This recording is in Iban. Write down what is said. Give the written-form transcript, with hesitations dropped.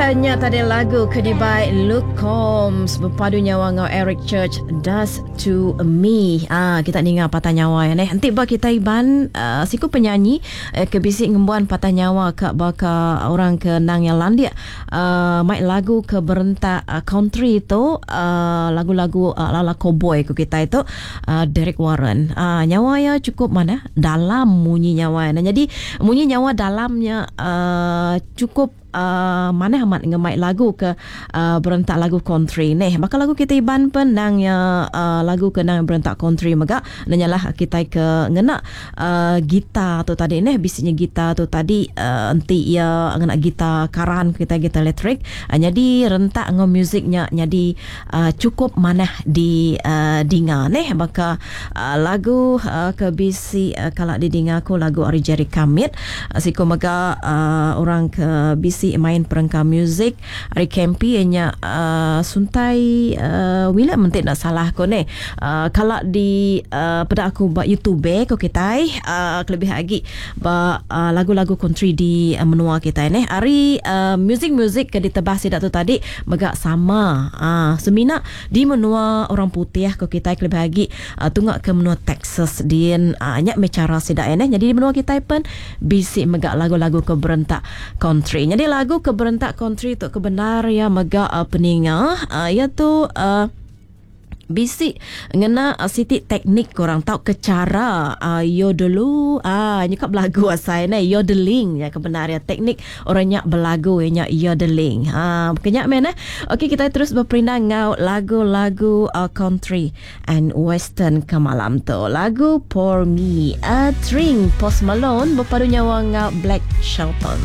Nya tadi lagu ke dibai Luke Combs bepadu nyawa enggau Eric Church Does to Me. Ah kita ninga patah nyawa ya neh. Enti ba kita Iban uh, siku penyanyi eh, ke bisi ngembuan patah nyawa ka baka orang ke nang yang landik uh, mai lagu ke berentak uh, country tu uh, lagu-lagu uh, ala cowboy ku kita itu uh, Derek Warren. Uh, nyawa ya cukup mana dalam munyi nyawa. Nah, jadi munyi nyawa dalamnya uh, cukup uh, manah amat ngemai lagu ke uh, berentak lagu country neh. Baka lagu kita Iban pen nang ya uh, lagu ke nang berentak country mega nanyalah kita ke ngena uh, gitar tu tadi neh bisinya gitar tu tadi uh, enti ya ngena gitar karan kita gitar elektrik uh, jadi rentak ngau musiknya jadi uh, cukup manah di uh, dinga neh baka uh, lagu uh, ke bisi uh, kala didinga aku lagu ari Jerry Kamit uh, siku mega uh, orang ke bisi main perengka muzik ari Kempi nya uh, Suntai uh, William menti nak salah aku neh uh, kala di uh, peda aku ba YouTube ko kitai uh, kelebih lagi ba uh, lagu-lagu country di uh, menua kitai neh ari uh, music-music ke ditebah sida tu tadi mega sama uh, semina di menua orang putih ko kitai kelebih lagi uh, tunga ke menua Texas din uh, nya me cara sida neh. Jadi di menua kitai pen bisi mega lagu-lagu ke berentak country. Jadi lagu ke berentak country tu kebenar ya mega uh, peninga uh, ya tu uh, bisi ngena uh, siti teknik korang tau ke cara uh, yodelu ah uh, nyekap lagu asai ne yodeling ya kebenar ya teknik orang nya belagu ya nya yodeling ah uh, kenya men eh. Okey kita terus berperindang ngau lagu-lagu uh, country and western ke malam tu. Lagu Pour Me a Drink Post Malone berpadu nyawa ngau Black Shelton.